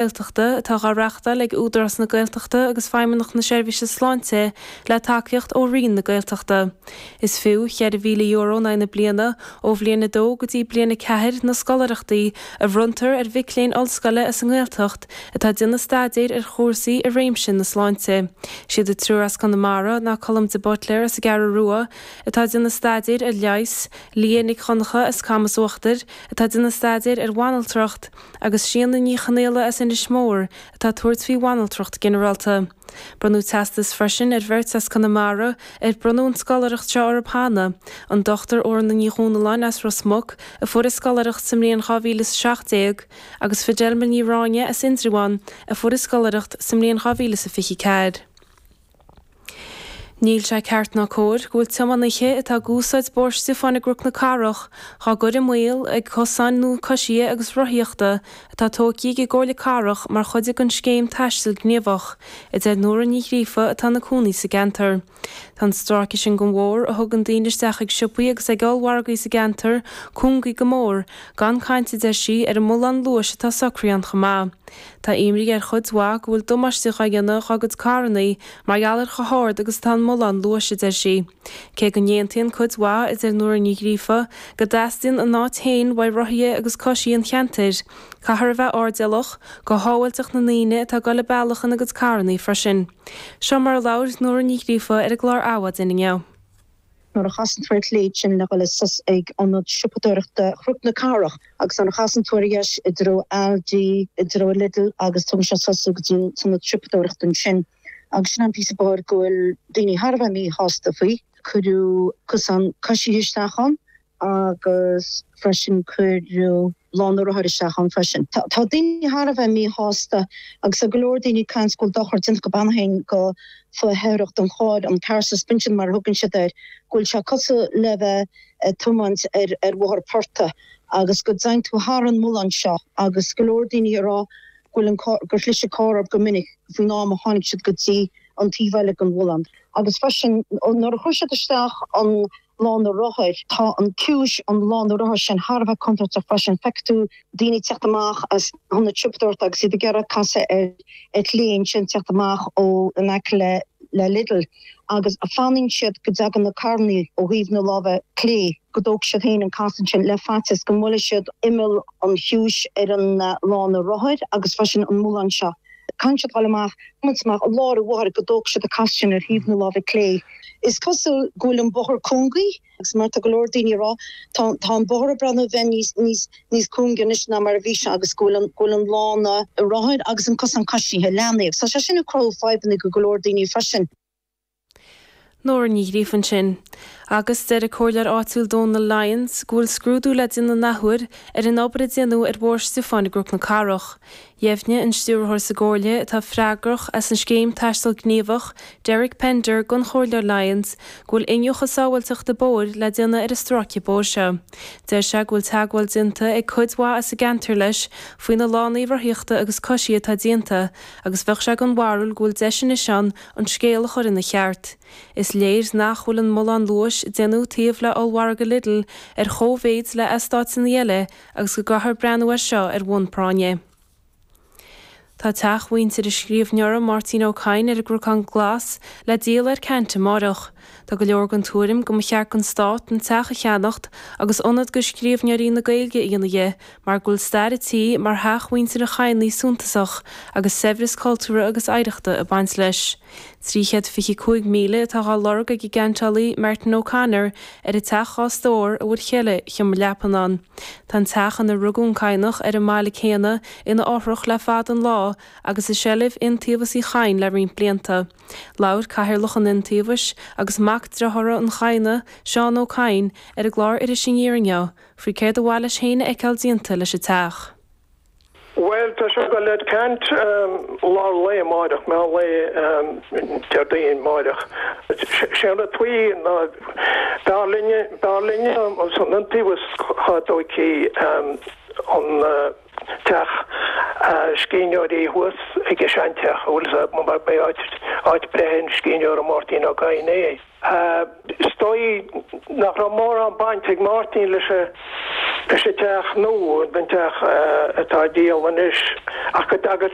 Gaeltachta atá dhá reáchtáil ag Údarás na Gaeltachta agus Feidhmeannacht na Seirbhíse Sláinte le tacaíocht ó Roinn na Gaeltachta. Is fiú €4,000 in aghaidh na bliana ó bhliain 2 go dtí bliain 4 na scoláireachtaí a bhronntar ar mhic léinn ollscoile as an nGaeltacht atá ag déanamh staidéir ar chúrsaí i réimse na sláinte. Siad an triúr as Conamara ná Colm de Buitléar as an gCeathrú Rua atá ag déanamh staidéir ar leigheas, Leah Nic Dhonncha as Camas Uachtair atá ag déanamh staidéir ar bhanaltracht, agus Síona Ní Chonaola as Inis Mór atá ag tabhairt faoi bhanaltracht ginearálta. Bronnadh teastas freisin ar bheirt as Conamara ar bronnadh an scoláireacht seo orthu cheana, an Dr Orna Ní Dhomhnalláin as Ros Muc a fuair an scoláireacht sa mbliain 2017 agus Fidelma Ní Ráinne as Indreabhán a fuair an scoláireacht sa mbliain 2024. Níl sé ceart ná cóir go bhfuil tiománaithe atá ag úsáid Bóthar Stiofáin i gCnoc na Cathrach dhá gcur i mbaol ag cosáin nua coisithe agus rothaíochta atá tógtha ag an gComhairle Cathrach mar chuid den scéim Taisteal Gníomhach, a deir Nóra Ní Ghríofa atá ina cónaí sa gceantar. Tá an stráice sin den bhóthar, a thugann daoine isteach ag siopaí agus ag ollmhargaí sa gceantar, cúngaithe go mór, gan caint, a deir sí, ar an mbullán luais atá socraithe ann chomh maith. Tá imní ar chuid mhaith go bhfuil damáiste dhá dhéanamh dhá gcuid carrannaí mar gheall ar chomh hard agus atá an mullán luais, a deir sí. Cé go n-aontaíonn cuid mhaith, a deir Nóra Ní Ghríofa, go dteastaíonn an áit féin uaidh rothaithe agus coisithe an cheantair, caithfear a bheith airdeallach go shábháilteacht na ndaoine atá ag dul an bealach ina gcuid carrannaí freisin. Seo mar a labhair Nóra Ní Ghríofa ar an gclár Adhmhaidin inniu. Nuair a chasann tú ar chlé ansin le dhul suas ag ionad siopadóireachta Chnoc na Cathrach agus nuair a chasann tú ar dheis i dtreo Aldi, i dtreo Lidl agus tugann sé suas thú go dtí an t-ionad siopadóireachta ansin. Agus sin an píosa bóthair go bhfuil daoine thar a bheith míshásta faoi. Cuireadh cosán coisithe isteach ann agus freisin cuireadh lána rothair isteach ann freisin. Tá daoine thar a bheith míshásta agus tá go leor daoine ag caint go bhfuil dochar déanta go beannaithe go fo-fheithreach an chairr, an car suspension mar a thugann siad air, go bhfuil sé cosúil le bheith ag tiomáint ar ar bhóthar portaigh agus go dtéann tú thar an mullán seo agus go leor daoine ag rá go bhfuil an carr, gur chlis an carr orthu go minic faoin am a tháinig siad go dtí an taobh eile den mhullán. Agus freisin nuair a chuir siad isteach an lána rothair. Tá an ciumhais an lána rothair sin thar a bheith contúirteach freisin. Feicfidh tú daoine ag teacht amach as an ionad siopadóireachta agus iad ag iarraidh casadh ar chlé ansin, teacht amach ó in aice le le Lidl agus fanann siad go dtagann na carrannaí ó thaobh na láimhe clé, go dtógfaidh siad féin an casadh ansin le faitíos go mbuailfidh siad imeall an chiumhais ar an lána rothair agus freisin an mullán seo. Caithfidh siad dul amach, tiomáint amach i lár an bhóthair go dtógfaidh siad an casadh sin ar thaobh na láimhe clé. Is cosúil go bhfuil an bóthar cúngaithe agus mar tá go leor daoine ag rá, tá, tá an bóthar ag breathnú a bheith níos, níos, níos cúinge anois ná mar a bhí sé agus go bhfuil an, go bhfuil an lána rothair agus an cosán coisithe leathnaithe agus tá sé sin ag cruthú fadhbanna go go leor daoine freisin. Nóra Ní Ghríofa ansin. Agus deir an comhairleoir áitiúil Dónal Lyons go bhfuil scrúdú le déanamh an athuair ar an obair a déanadh ar Bhóthar Stiofáin i gCnoc na Cathrach. Dheimhnigh an stiúrthóir sa gComhairle atá freagrach as an scéim Taisteal Gníomhach, Derek Pender, don Chomhairleoir Lyons go bhfuil iniúchadh sábháilteachta bóthair le déanamh ar an stráice bóthair seo. Deir sé go bhfuil teagmháil déanta ag cuid mhaith as an gceantar leis faoi na lánaí rothaíochta agus coisithe atá déanta agus bheadh sé den bharúil go bhfuil deis anois ann an scéal a chur ina cheart. Is léir nach bhfuil an mullán luais a déanadh taobh le ollmhargadh Lidl ar chóimhéid le eastáiteanna eile agus go gcaithfear breathnú air seo ar bhonn práinne. Tá teach mhuintir an scríbhneora Máirtín Ó Cadhain ar an gCnocán Glas le díol ar ceant amáireach. Tá go leor den tuairim go mba cheart don Stát an teach a cheannacht agus ionad do scríbhneoirí na Gaeilge a dhéanamh dhe mar go bhfuil stair an tí mar theach mhuintir an Chadhnaigh suntasach agus saibhreas cultúrtha agus oidhreachta ag baint leis. 325,000 atá dhá lorg ag an gceantálaí Martin O'Connor ar an teach 2 stór a bhfuil ceithre sheomra leapan ann. Tá an teach ina rugadh an Cadhnach ar an mbaile céanna ina fhothrach le fada an lá agus i seilbh Iontaobhas Uí Chadhain le roinnt blianta. Labhair Cathaoirleach an Iontaobhais agus mac dearthára an Chadhnaigh, Seán Ó Cadhain, ar an gclár Iris Aniar inniu faoi céard a mhaith leis féin a fheiceáil déanta leis an teach. Bhuel, tá sé ag dul ar ceant lár lae amáireach, meán lae Déardaoin amáireach. Sé an rud faoi ná b'fhearr linne, b'fhearr linne san Iontaobhas dhá dtóigfí an. teach scríbhneoirí thuas ag an seanteach, an bhfuil fhios a'd, mar ba é áit breithe an scríbhneora Máirtín Ó Cadhain é. Is dóigh nach raibh mórán baint ag Máirtín leis an leis an teach nua, an teach atá á dhíol anois, ach go dtagadh.